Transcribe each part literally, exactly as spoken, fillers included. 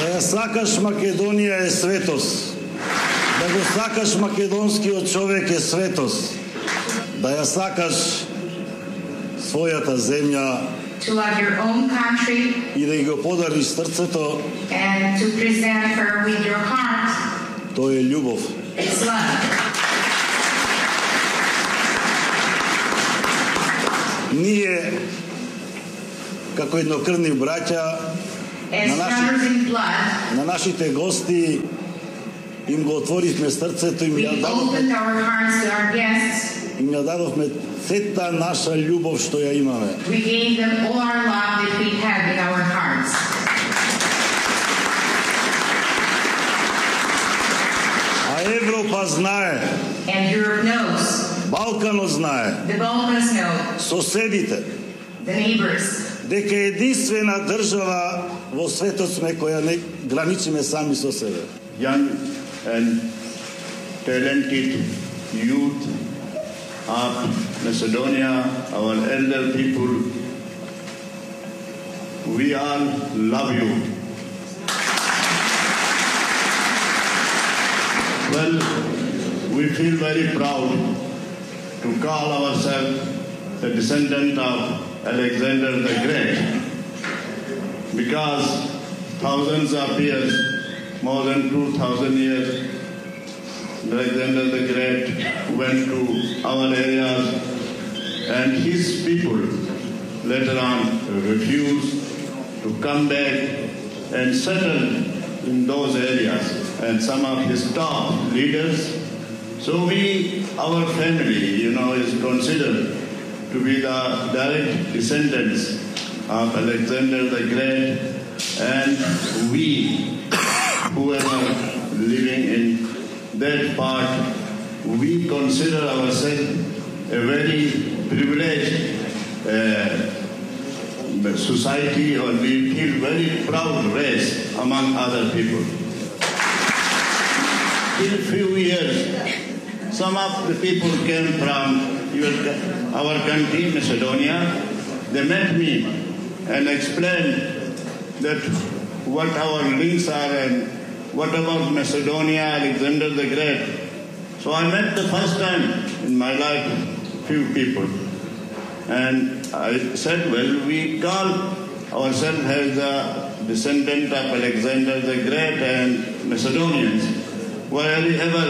Да ја сакаш Македонија е светост. Да го сакаш македонскиот човек е светост. Да ја сакаш својата земја to love your own country и да го подариш срцето, and to present her with your heart. Тоа е љубов. It's love. Ние како еднокрвни браќа на, наши, на нашите гости им го отворивме срцето, им ја дадовме, им ја дадовме сета наша љубов што ја имаме. We gave them all our love that we had in our hearts. А Европа знае. And Europe knows. Балканот знае. The Balkans know. Соседите. The neighbors. Дека единствена држава во светот сме која не граничиме сами со себе. Young and talented youth of Macedonia, our elder people, we all love you. Well, we feel very proud to call ourselves the descendant of Alexander the Great, because thousands of years, more than two thousand years, Alexander the Great went to our areas, and his people later on refused to come back and settle in those areas, and some of his top leaders. So we, our family, you know, is considered to be the direct descendants of Alexander the Great, and we, whoever living in that part, we consider ourselves a very privileged uh, society, or we feel very proud race among other people. In a few years, some of the people came from your, our country, Macedonia. They met me and explained that what our links are and what about Macedonia, Alexander the Great. So I met the first time in my life few people. And I said, well, we call ourselves as the descendant of Alexander the Great and Macedonians. Wherever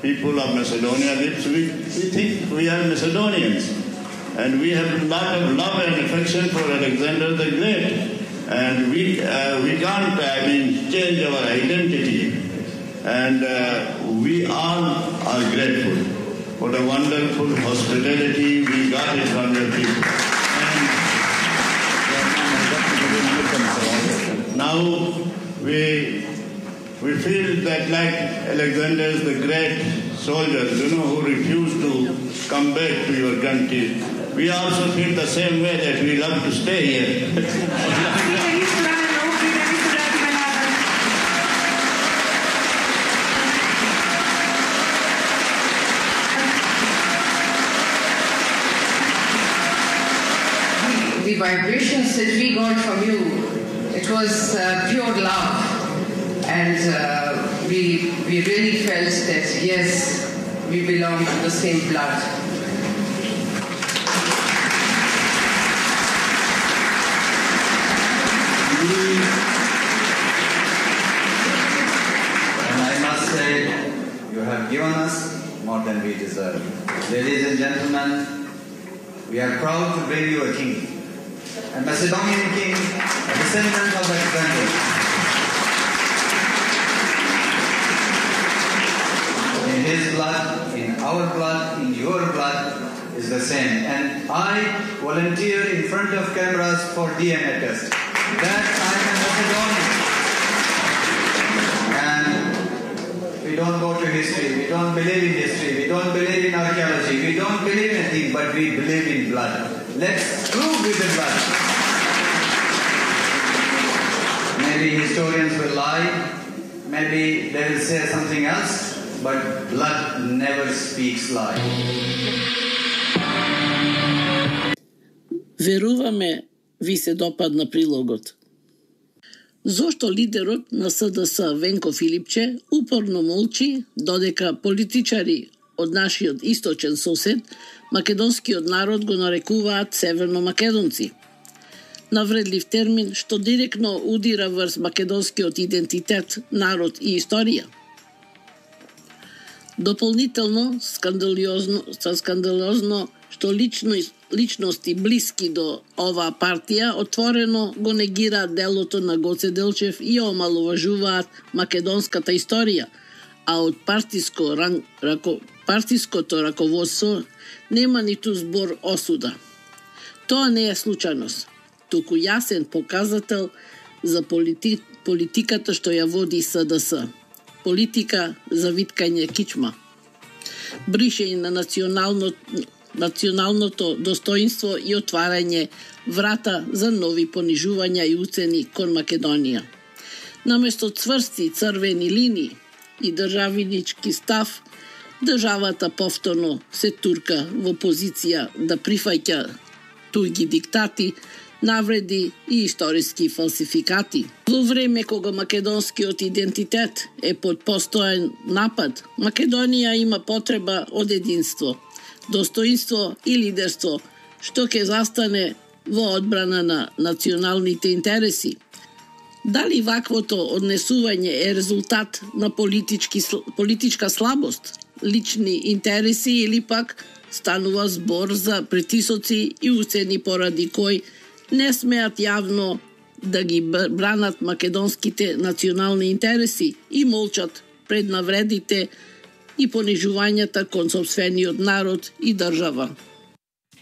people of Macedonia live, we, we think we are Macedonians. And we have a lot of love and affection for Alexander the Great. And we uh, we can't, I mean, change our identity. And uh, we all are grateful for the wonderful hospitality we got it from your people. And now we we feel that like Alexander the Great soldiers, you know, who refused to come back to your country, we also feel the same way that we love to stay here. The vibrations that we got from you, it was uh, pure love, and uh, we we really felt that yes, we belong to the same blood. And I must say, you have given us more than we deserve. Ladies and gentlemen, we are proud to bring you a king. A Macedonian king, a descendant of Alexander. In his blood, in our blood, in your blood is the same. And I volunteer in front of cameras for D N A test. That I am Macedonian. And we don't go to history, we don't believe in history, we don't believe in archaeology, we don't believe in anything, but we believe in blood. Let's prove with the blood. Maybe historians will lie, maybe they will say something else, but blood never speaks lie. Веруваме ви се допадна прилогот. Зошто лидерот на С Д С Венко Филипче упорно молчи додека политичари од нашиот источен сосед, македонскиот народ го нарекуваат северно-македонци? Навредлив термин што директно удира врз македонскиот идентитет, народ и историја. Дополнително, скандалозно, скандалозно што лично, личности блиски до оваа партија отворено го негираат делото на Гоце Делчев и омаловажуваат македонската историја, а од партиско, рако, партиското раководство нема ниту збор осуда. Тоа не е случајност, туку јасен показател за полити, политиката што ја води С Д С. Политика за виткање кичма. Бришење на национално, националното достоинство и отварање врата за нови понижувања и уцени кон Македонија. Наместо цврсти црвени линии и државнички став, државата повторно се турка во позиција да прифаќа туѓи диктати, навреди и историски фалсификати. Во време кога македонскиот идентитет е под постојан напад, Македонија има потреба од единство, достоинство и лидерство, што ќе застане во одбрана на националните интереси. Дали ваквото однесување е резултат на политички, политичка слабост, лични интереси или пак станува збор за притисоци и уцени поради кој не смеат јавно да ги бранат македонските национални интереси и молчат пред навредите и понижувањата кон сопствениот народ и држава.